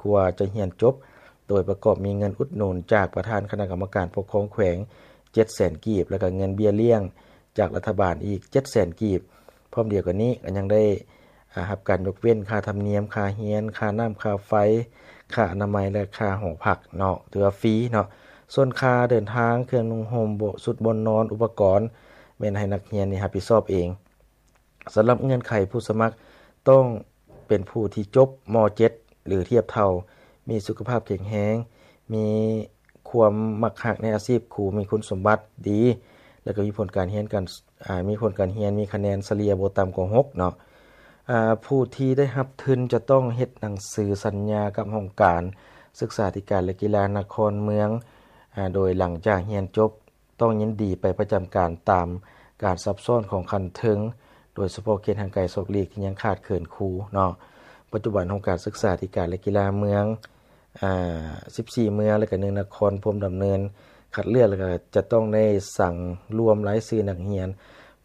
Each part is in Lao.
ກວ່າຈະຮຽນຈົບ, ໂດຍປະກອບມີເງິນອຸດໜູນຈາກປະທານຄະນະກຳມະການປົກຄອງແຂວງ ເຈັດແສນກີບ ແລ້ວກໍເງິນເບ້ຍລ້ຽງຈາກລັດຖະບານອີກ ເຈັດແສນກີບ. ພ້ອມດຽວກັນນີ້ກໍຍັງໄດ້ ອາ ຮັບການຍົກເວັ້ນຄ່າທຳນຽມ, ຄ່າຮຽນ, ຄ່ານ້ຳ, ຄ່າໄຟ, ຄ່າອະນາໄມ ແລະ ຄ່າຫໍພັກເນາະ, ຖືວ່າຟຣີເນາະ. ສ່ວນຄ່າເດີນທາງ, ເຄື່ອງນຸ່ງຫົ່ມ, ຊຸດບ່ອນນອນ, ອຸປະກອນ ແມ່ນໃຫ້ນັກຮຽນນີ້ຮັບຜິດຊອບເອງ. ສຳລັບເງື່ອນໄຂຜູ້ສະໝັກຕ້ອງເປັນຜູ້ທີ່ຈົບ ມ.ເຈັດ ຫຼື ທຽບເທົ່າ, ມີສຸຂະພາບແຂງແຮງ, ມີຄວາມມັກຮັກໃນອາຊີບຄູ, ມີຄຸນສົມບັດດີ ແລ້ວກໍມີຜົນການຮຽນການ ອາ ມີຜົນການຮຽນ, ມີຄະແນນສະເລ່ຍບໍ່ຕ່ຳກວ່າຫົກເນາະ. ອາ ຜູ້ທີ່ໄດ້ຮັບທຶນຈະຕ້ອງເຮັດໜັງສືສັນຍາກັບຫ້ອງການສຶກສາທິການ ແລະ ກິລານະຄອນເມືອງ, ອາ ໂດຍຫຼັງຈາກຮຽນຈົບ ຕ້ອງຍິນດີໄປປະຈຳການຕາມການຊັບຊ້ອນຂອງຂັ້ນເທິງ, ໂດຍສະເພາະເຂດຫ່າງໄກສອກຫຼີກທີ່ຍັງຂາດເຂີນຄູເນາະ. ປັດຈຸບັນຫ້ອງການສຶກສາທິການ ແລະ ກິລາເມືອງ ອາ ສິບສີ່ເມືອງ ແລະ ກະໜຶ່ງນະຄອນ ພວມດຳເນີນຄັດເລືອກ ແລ້ວກະຈະຕ້ອງໄດ້ສັງລວມລາຍຊື່ນັກຮຽນ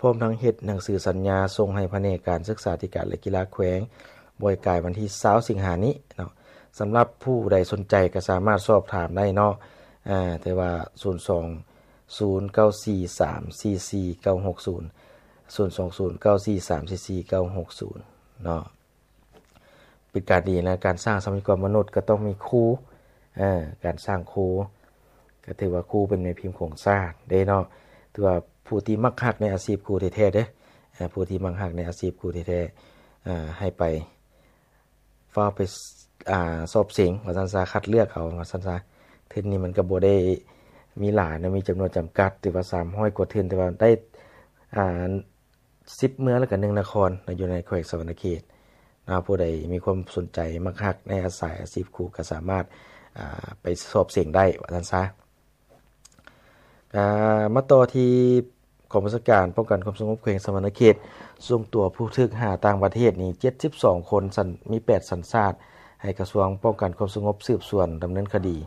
ພ້ອມທັງເຮັດໜັງສືສັນຍາສົ່ງໃຫ້ພະແນກການສຶກສາທິການ ແລະ ກິລາແຂວງ ບໍ່ໃຫ້ກາຍວັນທີຊາວສິງຫານີ້ເນາະ. ສຳລັບຜູ້ໃດສົນໃຈກໍສາມາດສອບຖາມໄດ້ເນາະ ອາ ແຕ່ວ່າ ສູນສອງ ສູນ ເກົ້າ ສີ່ ສາມ ສີ່ ສີ່ ເກົ້າ ຫົກ ສູນ ສູນ ສອງ ສູນ ເກົ້າ ສີ່ ສາມ ສີ່ ສີ່ ເກົ້າ ຫົກ ສູນ ເນາະ. ເປັນການດີນະ ການສ້າງຊັບພະຍາກອນມະນຸດກໍຕ້ອງມີຄູ ເອີ ການສ້າງຄູ ກໍຖືວ່າຄູເປັນແມ່ພິມຂອງຊາດເດ້ເນາະ. ຖືວ່າຜູ້ທີ່ມັກຮັກໃນອາຊີບຄູແທ້ໆເດ້ ເອີ ຜູ້ທີ່ມັກຮັກໃນອາຊີບຄູແທ້ໆ ເອີ ໃຫ້ໄປ ຟ້າວໄປ ອາ ສອບເສັງວ່າຊັ້ນຊະ ຄັດເລືອກເອົາວ່າຊັ້ນຊະ. ທຶນນີ້ມັນກໍບໍ່ໄດ້ມີຫຼາຍເນາະ ມີຈຳນວນຈຳກັດ ຖືວ່າສາມຮ້ອຍກວ່າທຶນ ແຕ່ວ່າໄດ້ ອາ ສິບເມືອງ ແລ້ວກໍໜຶ່ງນະຄອນເນາະ ຢູ່ໃນແຂວງສະຫວັນນະເຂດເນາະ. ຜູ້ໃດມີຄວາມສົນໃຈ ມັກຮັກໃນອາສາຍອາຊີບຄູ ກໍສາມາດ ອາ ໄປສອບເສັງໄດ້ວ່າຊັ້ນຊະ. ອາ ມາຕໍ່ທີ່ກອງບັນຊາການປ້ອງກັນຄວາມສະຫງົບແຂວງສະຫວັນນະເຂດ ສົ່ງຕົວຜູ້ຖືກຫາຕ່າງປະເທດນີ້ ເຈັດສິບສອງຄົນ ສັນ ມີແປດສັນຊາດ ໃຫ້ກະຊວງປ້ອງກັນຄວາມສະຫງົບສືບສວນດຳເນີນຄະດີ.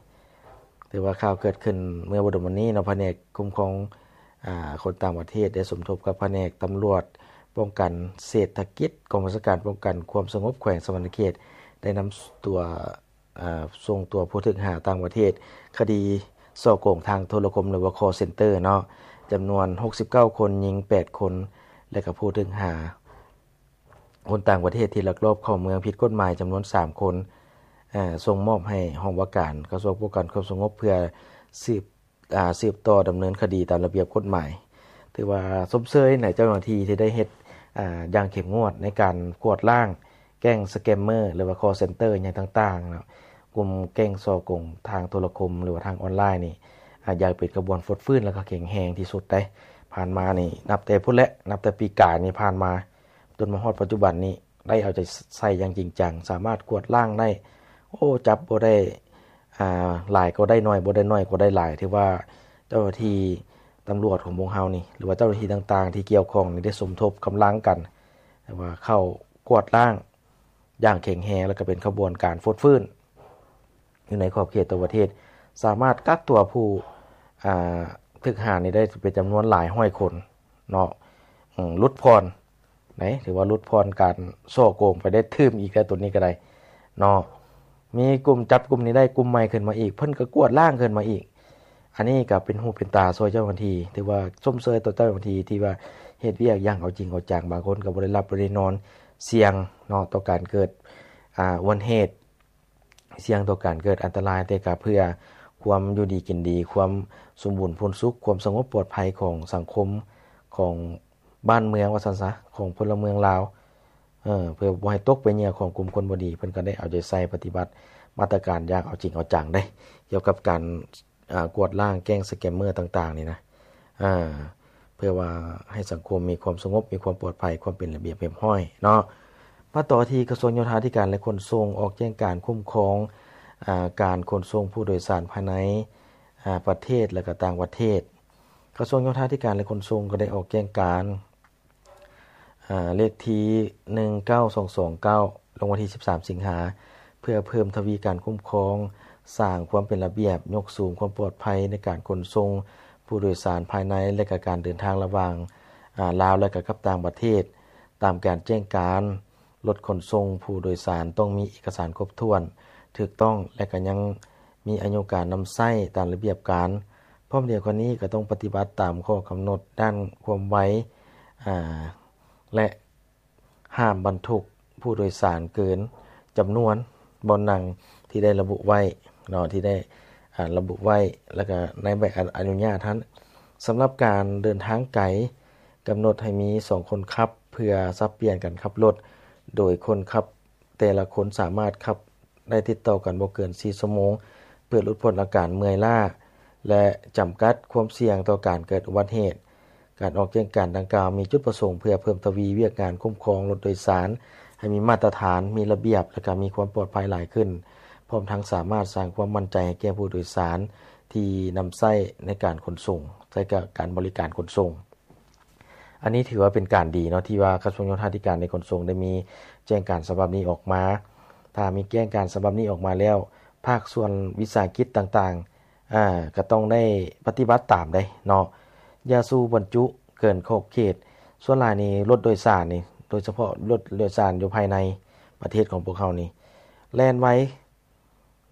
ຖືວ່າຂ່າວເກີດຂຶ້ນເມື່ອບໍ່ດົນມານີ້ເນາະ, ພະແນກຄຸ້ມຄອງ ອາ ຄົນຕ່າງປະເທດໄດ້ສົມທົບກັບພະແນກຕຳຫຼວດປ້ອງກັນເສດຖະກິດ ກອງບັນຊາການປ້ອງກັນຄວາມສະຫງົບແຂວງສະຫວັນນະເຂດ ໄດ້ນຳຕົວ ອາ ສົ່ງຕົວຜູ້ຖືກຫາຕ່າງປະເທດ ຄະດີສໍ້ໂກງທາງໂທລະຄົມ ຫຼືວ່າ call center ເນາະ ຈຳນວນຫົກສິບເກົ້າຄົນ, ຍິງແປດຄົນ ແລະ ກະຜູ້ຖືກຫາຄົນຕ່າງປະເທດທີ່ລັກລອບເຂົ້າເມືອງຜິດກົດໝາຍຈຳນວນສາມຄົນ ອາ ສົ່ງມອບໃຫ້ຫ້ອງວ່າການກະຊວງປ້ອງກັນຄວາມສະຫງົບ ເພື່ອສືບ ອາ ສືບຕໍ່ດຳເນີນຄະດີຕາມລະບຽບກົດໝາຍ. ຖືວ່າຊົມເຊີຍໃນເຈົ້າໜ້າທີ່ທີ່ໄດ້ເຮັດ ອາ ຢ່າງເຂັ້ມງວດໃນການກວດລ້າງ ແກ້ງສະແກມເມີ ຫຼືວ່າ call center ຫຍັງຕ່າງໆເນາະ, ກຸ່ມແກ້ງສໍ້ໂກງທາງໂທລະຄົມ ຫຼືວ່າທາງອອນລາຍນີ້ ອາ ຢາກເປັນຂະບວນຟົດຟື້ນ ແລ້ວກໍແຂງແຮງທີ່ສຸດໄດ໋. ຜ່ານມານີ້ ນັບແຕ່ພຸ້ນແຫຼະ ນັບແຕ່ປີກາຍນີ້ຜ່ານມາ ຈົນມາຮອດປັດຈຸບັນນີ້ ໄດ້ເອົາໃຈໃສ່ຢ່າງຈິງຈັງ ສາມາດກວດລ້າງໄດ້. ໂອ້ ຈັບບໍ່ໄດ້ ອາ ຫຼາຍກໍໄດ້ໜ້ອຍ ບໍ່ໄດ້ໜ້ອຍກໍໄດ້ຫຼາຍ. ຖືວ່າເຈົ້າໜ້າທີ່ຕຳຫຼວດຂອງພວກເຮົານີ້ ຫຼືວ່າເຈົ້າໜ້າທີ່ຕ່າງໆທີ່ກ່ຽວຂ້ອງນີ້ ໄດ້ສົມທົບກຳລັງກັນ ແຕ່ວ່າເຂົ້າກວດລ້າງ ຢ່າງແຂງແຮງ ແລ້ວກໍເປັນຂະບວນການຟົດຟື້ນຢູ່ໃນຂອບເຂດທົ່ວປະເທດ, ສາມາດກັກຕົວຜູ້ ອາ ຖືກຫານີ້ໄດ້ເປັນຈຳນວນຫຼາຍຮ້ອຍຄົນເນາະ. ອາ ຫຼຸດຜ່ອນໄດ໋ ຖືວ່າຫຼຸດຜ່ອນການສໍ້ໂກງໄປໄດ້ຕື່ມອີກແລ້ວ ໂຕນີ້ກໍໄດ້ເນາະ. ມີກຸ່ມ ຈັບກຸ່ມນີ້ໄດ້ ກຸ່ມໃໝ່ຂຶ້ນມາອີກ ເພິ່ນກໍກວດລ້າງຂຶ້ນມາອີກ. ອັນນີ້ກໍເປັນຫູເປັນຕາຊ່ວຍເຈົ້າໜ້າທີ່ ຖືວ່າຊົມເຊີຍຕໍ່ເຈົ້າໜ້າທີ່ທີ່ວ່າເຮັດວຽກຢ່າງເອົາຈິງເອົາຈັງ. ບາງຄົນກໍບໍ່ໄດ້ຫຼັບບໍ່ໄດ້ນອນ ສ່ຽງເນາະ ຕໍ່ການເກີດ ອາ ອຸບັດຕິເຫດ, ສ່ຽງຕໍ່ການເກີດອັນຕະລາຍ, ແຕ່ກໍເພື່ອຄວາມຢູ່ດີກິນດີ, ຄວາມສົມບູນພູນສຸກ, ຄວາມສະຫງົບປອດໄພຂອງສັງຄົມ, ຂອງບ້ານເມືອງວ່າຊັ້ນຊະ, ຂອງພົນລະເມືອງລາວ, ເອີ ເພື່ອບໍ່ໃຫ້ຕົກເປັນເຫຍື່ອຂອງກຸ່ມຄົນບໍ່ດີ. ເພິ່ນກໍໄດ້ເອົາໃຈໃສ່ປະຕິບັດມາດຕະການຢ່າງເອົາຈິງເອົາຈັງເດ້ ກ່ຽວກັບການ ອາ ກວດລ້າງແກ້ງສະແກມເມີຕ່າງໆນີ້ນະ ອາ ເພື່ອວ່າໃຫ້ສັງຄົມມີຄວາມສະຫງົບ, ມີຄວາມປອດໄພ, ຄວາມເປັນລະບຽບຮຽບຮ້ອຍເນາະ. ມາຕໍ່ທີ່ກະຊວງໂຍທາທິການ ແລະ ຂົນສົ່ງ ອອກແຈ້ງການຄຸ້ມຄອງ ອາ ການຂົນສົ່ງຜູ້ໂດຍສານພາຍໃນ ອາ ປະເທດ ແລະ ກະຕ່າງປະເທດ. ກະຊວງໂຍທາທິການ ແລະ ຂົນສົ່ງ ກໍໄດ້ອອກແຈ້ງການ ອາ ເລກທີໜຶ່ງເກົ້າສອງສອງເກົ້າ ລົງວັນທີສິບສາມສິງຫາ ເພື່ອເພີ່ມທະວີການຄຸ້ມຄອງ, ສ້າງຄວາມເປັນລະບຽບ, ຍົກສູງຄວາມປອດໄພໃນການຂົນສົ່ງຜູ້ໂດຍສານພາຍໃນ ແລະ ກະການເດີນທາງລະຫວ່າງ ອາ ລາວ ແລະ ກະກັບຕ່າງປະເທດ. ຕາມການແຈ້ງການ, ລົດຂົນສົ່ງຜູ້ໂດຍສານຕ້ອງມີເອກະສານຄົບຖ້ວນ, ຖືກຕ້ອງ ແລະ ກໍຍັງມີອາຍຸການນຳໃຊ້ຕາມລະບຽບການ. ພ້ອມດຽວກັນນີ້ກໍຕ້ອງປະຕິບັດຕາມຂໍ້ກຳນົດດ້ານຄວາມໄວ ອາ ແລະ ຫ້າມບັນທຸກຜູ້ໂດຍສານເກີນຈຳນວນບ່ອນນັ່ງທີ່ໄດ້ລະບຸໄວ້ເນາະ ທີ່ໄດ້ ອາ ລະບຸໄວ້ ແລ້ວກໍໃນໃບອະ ອະນຸຍາດຫັ້ນ. ສຳລັບການເດີນທາງໄກ ກຳນົດໃຫ້ມີສອງຄົນຂັບ ເພື່ອສັບປ່ຽນກັນຂັບລົດ ໂດຍຄົນຂັບແຕ່ລະຄົນສາມາດຂັບໄດ້ຕິດຕໍ່ກັນບໍ່ເກີນສີ່ຊົ່ວໂມງ ເພື່ອຫຼຸດພົ້ນອາການເມື່ອຍລ້າ ແລະ ຈຳກັດຄວາມສ່ຽງຕໍ່ການເກີດອຸບັດເຫດ. ການອອກແຈ້ງການດັ່ງກ່າວມີຈຸດປະສົງເພື່ອເພີ່ມທະວີວຽກງານຄຸ້ມຄອງລົດໂດຍສານໃຫ້ມີມາດຕະຖານ, ມີລະບຽບ ແລະ ກໍມີຄວາມປອດໄພຫຼາຍຂຶ້ນ, ພ້ອມທັງສາມາດສ້າງຄວາມໝັ້ນໃຈໃຫ້ແກ່ຜູ້ໂດຍສານທີ່ນຳໃຊ້ໃນການຂົນສົ່ງ, ໃຊ້ການບໍລິການຂົນສົ່ງ. ອັນນີ້ຖືວ່າເປັນການດີເນາະ ທີ່ວ່າກະຊວງໂຍທາທິການ ແລະ ຂົນສົ່ງໄດ້ມີແຈ້ງການສະບັບນີ້ອອກມາ. ຖ້າມີແຈ້ງການສະບັບນີ້ອອກມາແລ້ວ, ພາກສ່ວນວິສາຫະກິດຕ່າງໆ ອາ ກໍຕ້ອງໄດ້ປະຕິບັດຕາມເດ້ເນາະ, ຢ່າສູ່ບັນຈຸເກີນຂອບເຂດ. ສ່ວນຫຼາຍນີ້ລົດໂດຍສານນີ້ ໂດຍສະເພາະລົດໂດຍສານຢູ່ພາຍໃນປະເທດຂອງພວກເຮົານີ້ ແລ່ນໄວ,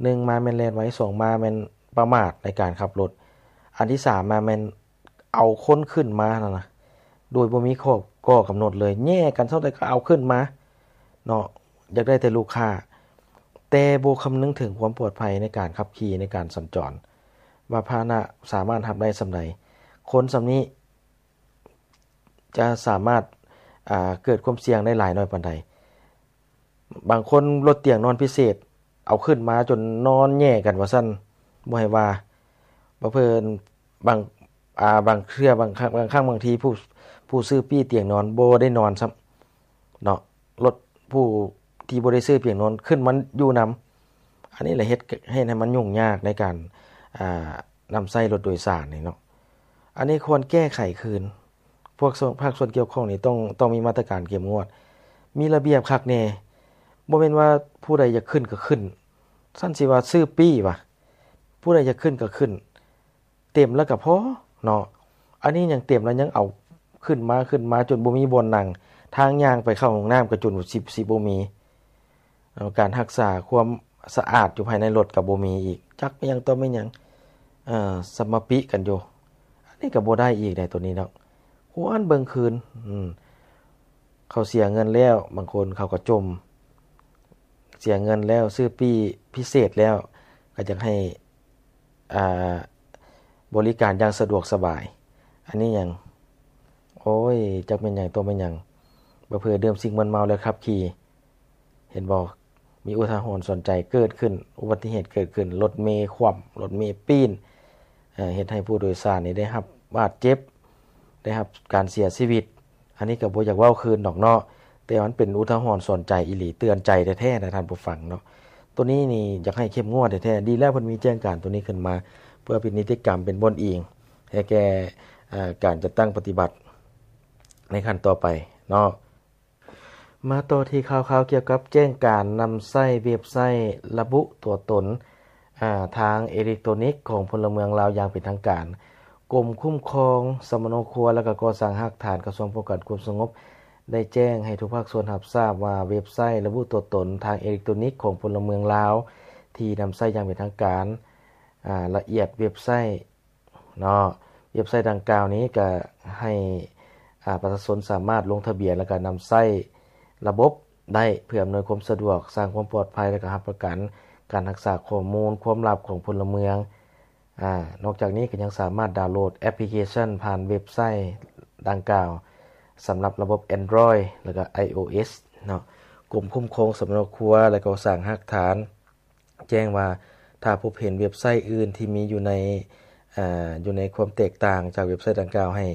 ໜຶ່ງມາແມ່ນແລ່ນໄວ, ສອງມາແມ່ນປະໝາດໃນການຂັບລົດ, ອັນທີສາມມາແມ່ນເອົາຄົນຂຶ້ນມາຫັ້ນນະ ໂດຍບໍ່ມີຂໍ້ ຂໍ້ກຳນົດເລີຍ, ແຍ່ກັນເທົ່າໃດກໍເອົາຂຶ້ນມາເນາະ, ຢາກໄດ້ແຕ່ລູກຄ້າ ແຕ່ບໍ່ຄຳນຶງເຖິງຄວາມປອດໄພໃນການຂັບຂີ່ ໃນການສັນຈອນ ວ່າພາຫະນະສາມາດຮັບໄດ້ສ່ຳໃດ, ຄົນສ່ຳນີ້ຈະສາມາດ ອາ ເກີດຄວາມສ່ຽງໄດ້ຫຼາຍນ້ອຍປານໃດ. ບາງຄົນລົດຕຽງນອນພິເສດ ເອົາຂຶ້ນມາຈົນນອນແຍ່ກັນວ່າຊັ້ນ ບໍ່ໃຫ້ວ່າ. ບາງເພິ່ນ ບາງ ອາ ບາງເທື່ອ ບາງຄັ້ງ ບາງຄັ້ງບາງທີ ຜູ້ ຜູ້ຊື້ປີ້ຕຽງນອນບໍ່ໄດ້ນອນຊ້ຳເນາະ, ລົດຜູ້ທີ່ບໍ່ໄດ້ຊື້ຕຽງນອນຂຶ້ນມາຢູ່ນຳ. ອັນນີ້ລະເຮັດ ເຮັດໃຫ້ມັນຫຍຸ້ງຍາກໃນການ ອາ ນຳໃຊ້ລົດໂດຍສານນີ້ເນາະ. ອັນນີ້ຄວນແກ້ໄຂຄືນ. ພວກສ່ວນ ພາກສ່ວນກ່ຽວຂ້ອງນີ້ຕ້ອງ ຕ້ອງມີມາດຕະການເຂັ້ມງວດ, ມີລະບຽບຄັກແນ່. ບໍ່ແມ່ນວ່າຜູ້ໃດຢາກຂຶ້ນກໍຂຶ້ນ, ຊັ້ນຊິວ່າຊື້ປີ້ຫວາ? ຜູ້ໃດຢາກຂຶ້ນກໍຂຶ້ນ, ເຕັມແລ້ວກໍພໍເນາະ. ອັນນີ້ຍັງເຕັມແລ້ວຍັງເອົາຂຶ້ນມາ ຂຶ້ນມາຈົນບໍ່ມີບ່ອນນັ່ງ, ທາງຍ່າງໄປເຂົ້າຫ້ອງນ້ຳກໍຈົນຊິ ຊິບໍ່ມີ. ເອີ ການຮັກສາຄວາມສະອາດຢູ່ພາຍໃນລົດກໍບໍ່ມີອີກ, ຈັກແມ່ນຫຍັງຕໍ່ແມ່ນຫຍັງ ເອີ ສະມາປິກັນຢູ່. ອັນນີ້ກໍບໍ່ໄດ້ອີກໃດ໋ ໂຕນີ້ເນາະ, ຄວນເບິ່ງຄືນ. ອືມ ເຂົາເສຍເງິນແລ້ວ, ບາງຄົນເຂົາກໍຈົ່ມ, ເສຍເງິນແລ້ວ, ຊື້ປີ້ພິເສດແລ້ວ, ກໍຢາກໃຫ້ ອ່າ ບໍລິການຢ່າງສະດວກສະບາຍ. ອັນນີ້ຫຍັງ? ໂອ້ຍ ຈັກແມ່ນຫຍັງຕົວະແມ່ນຫຍັງ, ບໍ່ເຜີດື່ມສິ່ງມຶນເມົາແລ້ວຂັບຂີ່. ເຫັນບໍ່? ມີອຸທາຫອນສອນໃຈເກີດຂຶ້ນ, ອຸບັດຕິເຫດເກີດຂຶ້ນ, ລົດເມຂວ້ຳ, ລົດເມປີ້ນ, ເຮັດໃຫ້ຜູ້ໂດຍສານນີ້ໄດ້ຮັບບາດເຈັບ, ໄດ້ຮັບການເສຍຊີວິດ. ອັນນີ້ກໍບໍ່ຢາກເວົ້າຄືນດອກເນາະ, ແຕ່ມັນເປັນອຸທາຫອນສອນໃຈອີ່ຫຼີ, ເຕືອນໃຈແທ້ໆນະທ່ານຜູ້ຟັງເນາະ. ໂຕນີ້ນີ້ຢາກໃຫ້ເຂັ້ມງວດແທ້ໆ, ດີແລ້ວເພິ່ນມີແຈ້ງການໂຕນີ້ຂຶ້ນມາ ເພື່ອເປັນນິຕິກຳ, ເປັນບ່ອນອີງໃຫ້ແກ່ ເອີ ການຈັດຕັ້ງປະຕິບັດໃນຂັ້ນຕໍ່ໄປເນາະ. ມາຕໍ່ທີ່ຂ່າວໆກ່ຽວກັບແຈ້ງການນຳໃຊ້ເວັບໄຊລະບຸຕົວຕົນ ອາ ທາງເອເລັກໂຕນິກຂອງພົນລະເມືອງລາວຢ່າງເປັນທາງການ. ກົມຄຸ້ມຄອງສຳມະໂນຄົວ ແລະ ກໍກໍ່ສ້າງຮາກຖານ ກະຊວງປ້ອງກັນຄວາມສະຫງົບ ໄດ້ແຈ້ງໃຫ້ທຸກພາກສ່ວນຮັບຊາບວ່າ ເວັບໄຊລະບຸຕົວຕົນທາງເອເລັກໂຕນິກຂອງພົນລະເມືອງລາວ ທີ່ນຳໃຊ້ຢ່າງເປັນທາງການ, ອາ ລະອຽດເວັບໄຊ ເນາະ, ເວັບໄຊດັ່ງກ່າວນີ້ກໍໃຫ້ ອາ ປະຊາຊົນສາມາດລົງທະບຽນ ແລ້ວກໍນຳໃຊ້ລະບົບໄດ້ ເພື່ອອຳນວຍຄວາມສະດວກ, ສ້າງຄວາມປອດໄພ ແລ້ວກໍຮັບປະກັນການຮັກສາຂໍ້ມູນຄວາມລັບຂອງພົນລະເມືອງ. ອາ ນອກຈາກນີ້ກໍຍັງສາມາດດາວໂຫຼດແອັບພລິເຄຊັນຜ່ານເວັບໄຊດັ່ງກ່າວ ສຳລັບລະບົບ Android ແລ້ວກໍ iOS ເນາະ. ກົມຄຸ້ມຄອງສຳມະໂນຄົວ ແລະ ກໍສ້າງຮາກຖານ ແຈ້ງວ່າ ຖ້າພົບເຫັນເວັບໄຊອື່ນທີ່ມີຢູ່ໃນ ເອີ ຢູ່ໃນຄວາມແຕກຕ່າງຈາກເວັບໄຊດັ່ງກ່າວ ໃຫ້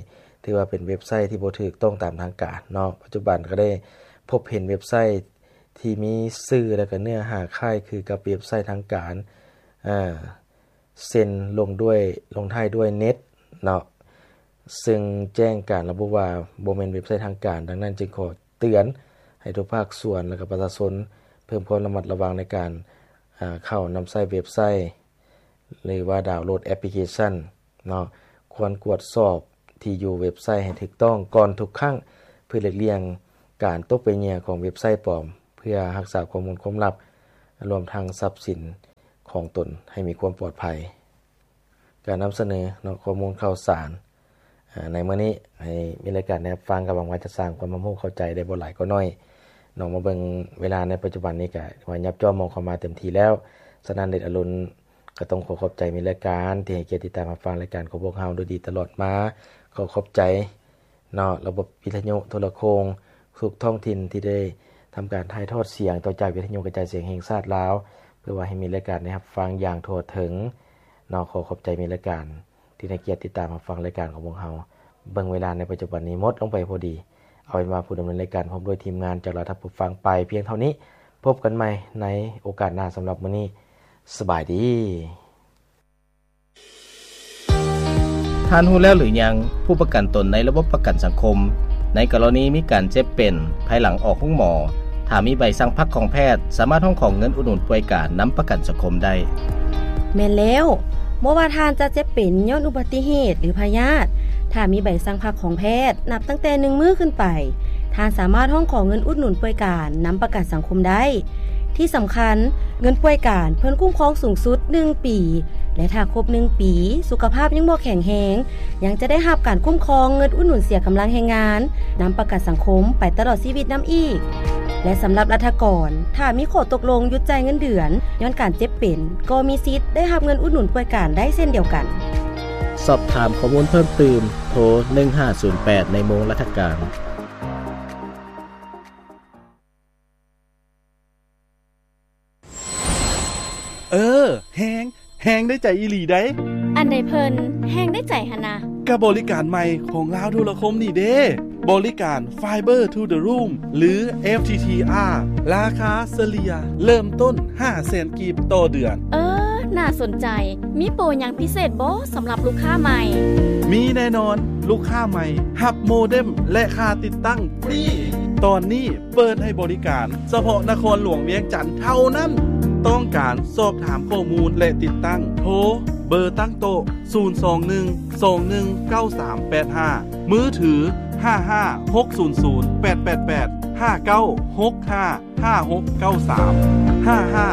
ຖືວ່າເປັນເວັບໄຊທີ່ບໍ່ຖືກຕ້ອງຕາມທາງການເນາະ. ປັດຈຸບັນກໍໄດ້ພົບເຫັນເວັບໄຊທີ່ມີຊື່ ແລະ ກໍເນື້ອຫາຄ້າຍຄືກັບເວັບໄຊທາງການ ເອີ ເຊັ່ນ ລົງດ້ວຍ ລົງທ້າຍດ້ວຍ ເນັດ ເນາະ, ເຊິ່ງແຈ້ງການລະບຸວ່າບໍ່ແມ່ນເວັບໄຊທາງການ, ດັ່ງນັ້ນຈຶ່ງຂໍເຕືອນໃຫ້ທຸກພາກສ່ວນ ແລະ ກໍປະຊາຊົນເພີ່ມຄວາມລະມັດລະວັງໃນການ ອາ ເຂົ້ານຳໃຊ້ເວັບໄຊ ຫຼືວ່າດາວໂຫຼດແອັບພລິເຄຊັນເນາະ. ຄວນກວດສອບທີ່ຢູ່ເວັບໄຊໃຫ້ຖືກຕ້ອງກ່ອນທຸກຄັ້ງ ເພື່ອຫຼີກລ່ຽງການຕົກເປັນເຫຍື່ອຂອງເວັບໄຊປອມ ເພື່ອຮັກສາຂໍ້ມູນຄວາມລັບ ລວມທັງຊັບສິນຂອງຕົນໃຫ້ມີຄວາມປອດໄພ. ການນຳສະເໜີເນາະ ຂໍ້ມູນຂ່າວສານ ອາ ໃນມື້ນີ້ ໃຫ້ມີລາຍການໄດ້ຮັບຟັງ ກໍຫວັງວ່າຈະສ້າງຄວາມຮັບຮູ້ເຂົ້າໃຈໄດ້ບໍ່ຫຼາຍກໍໜ້ອຍເນາະ. ມາເບິ່ງເວລາໃນປັດຈຸບັນນີ້ ກໍວ່າຍັບຈ້ອມມອງເຂົ້າມາເຕັມທີ່ແລ້ວ. ສະນັ້ນ ເດດອະລຸນ ກໍຕ້ອງຂໍຂອບໃຈມີລາຍການທີ່ໃຫ້ກຽດຕິດຕາມຮັບຟັງລາຍການຂອງພວກເຮົາໂດຍດີຕະຫຼອດມາ. ຂໍຂອບໃຈ ເນາະ ລະບົບວິທະຍຸໂທລະໂຄ່ງທຸກທ້ອງຖິ່ນທີ່ໄດ້ທຳການຖ່າຍທອດສຽງຕໍ່ຈາກວິທະຍຸກະຈາຍສຽງແຫ່ງຊາດລາວ ເພື່ອວ່າໃຫ້ມີລາຍການໄດ້ຮັບຟັງຢ່າງທົ່ວເຖິງເນາະ. ຂໍຂອບໃຈມີລາຍການທີ່ໃຫ້ກຽດຕິດຕາມຮັບຟັງລາຍການຂອງພວກເຮົາ. ເບິ່ງເວລາໃນປັດຈຸບັນນີ້ໝົດລົງໄປພໍດີ. ເອົາເປັນວ່າຜູ້ດຳເນີນລາຍການພ້ອມດ້ວຍທີມງານຈະລາທ່ານຜູ້ຟັງໄປພຽງເທົ່ານີ້. ພົບກັນໃໝ່ໃນໂອກາດໜ້າ. ສຳລັບມື້ນີ້ ສະບາຍດີ. ທ່ານຮູ້ແລ້ວຫຼືຍັງ? ຜູ້ປະກັນຕົນໃນລະບົບປະກັນສັງຄົມ ໃນກໍລະນີມີການເຈັບເປັນພາຍຫຼັງອອກໂຮງໝໍ, ຖ້າມີໃບສັ່ງພັກຂອງແພດ, ສາມາດຮ້ອງຂໍເງິນອຸດໜູນປ່ວຍການນຳປະກັນສັງຄົມໄດ້. ແມ່ນແລ້ວ, ບໍ່ວ່າທ່ານຈະເຈັບເປັນຍ້ອນອຸບັດຕິເຫດ ຫຼື ພະຍາດ, ຖ້າມີໃບສັ່ງພັກຂອງແພດ ນັບຕັ້ງແຕ່ໜຶ່ງມື້ຂຶ້ນໄປ, ທ່ານສາມາດຮ້ອງຂໍເງິນອຸດໜູນປ່ວຍການນຳປະກັນສັງຄົມໄດ້. ທີ່ສຳຄັນ, ເງິນປ່ວຍການເພິ່ນຄຸ້ມຄອງສູງສຸດໜຶ່ງປີ ແລະ ຖ້າຄົບໜຶ່ງປີ ສຸຂະພາບຍັງບໍ່ແຂງແຮງ, ຍັງຈະໄດ້ຮັບການຄຸ້ມຄອງເງິນອຸດໜູນເສຍກຳລັງແຮງງານນຳປະກັນສັງຄົມໄປຕະຫຼອດຊີວິດນຳອີກ. ແລະ ສຳລັບລັດຖະກອນ, ຖ້າມີຂໍ້ຕົກລົງຢຸດຈ່າຍເງິນເດືອນຍ້ອນການເຈັບເປັນ, ກໍມີສິດໄດ້ຮັບເງິນອຸດໜູນປ່ວຍການໄດ້ເຊັ່ນດຽວກັນ. ສອບຖາມຂໍ້ມູນເພີ່ມຕື່ມ, ໂທ ໜຶ່ງຫ້າສູນແປດ ໃນໂມງລັດຖະການ. ເອີ ແຮງ ແຮງໄດ້ໃຈອີ່ຫຼີໃດ໋. ອັນໃດເພິ່ນແຮງໄດ້ໃຈຫັ້ນນະ? ກະບໍລິການໃໝ່ຂອງລາວໂທລະຄົມນີ້ເດ້ ບໍລິການ Fiber to the Room ຫຼື FTTR ລາຄາສະເລ່ຍເລີ່ມຕົ້ນຫ້າແສນກີບຕໍ່ເດືອນ. ເອີ ໜ້າສົນໃຈ. ມີໂປຫຍັງພິເສດບໍ່ສຳລັບລູກຄ້າໃໝ່? ມີແນ່ນອນ, ລູກຄ້າໃໝ່ຮັບໂມເດັມ ແລະ ຄ່າຕິດຕັ້ງຟຣີ. ຕອນນີ້ ເປີດໃຫ້ບໍລິການສະເພາະນະຄອນຫຼວງວຽງຈັນເທົ່ານັ້ນ. ຕ້ອງການສອບຖາມຂໍ້ມູນ ແລະ ຕິດຕັ້ງ, ໂທເບີຕັ້ງໂຕະ ສູນສອງໜຶ່ງ ສອງໜຶ່ງ ເກົ້າສາມແປດຫ້າ, ມືຖື ຫ້າຫ້າຫົກສູນສູນ ແປດແປດແປດ ຫ້າເກົ້າຫົກຫ້າ ຫ້າຫົກເກົ້າສາມ ຫ້າຫ້າ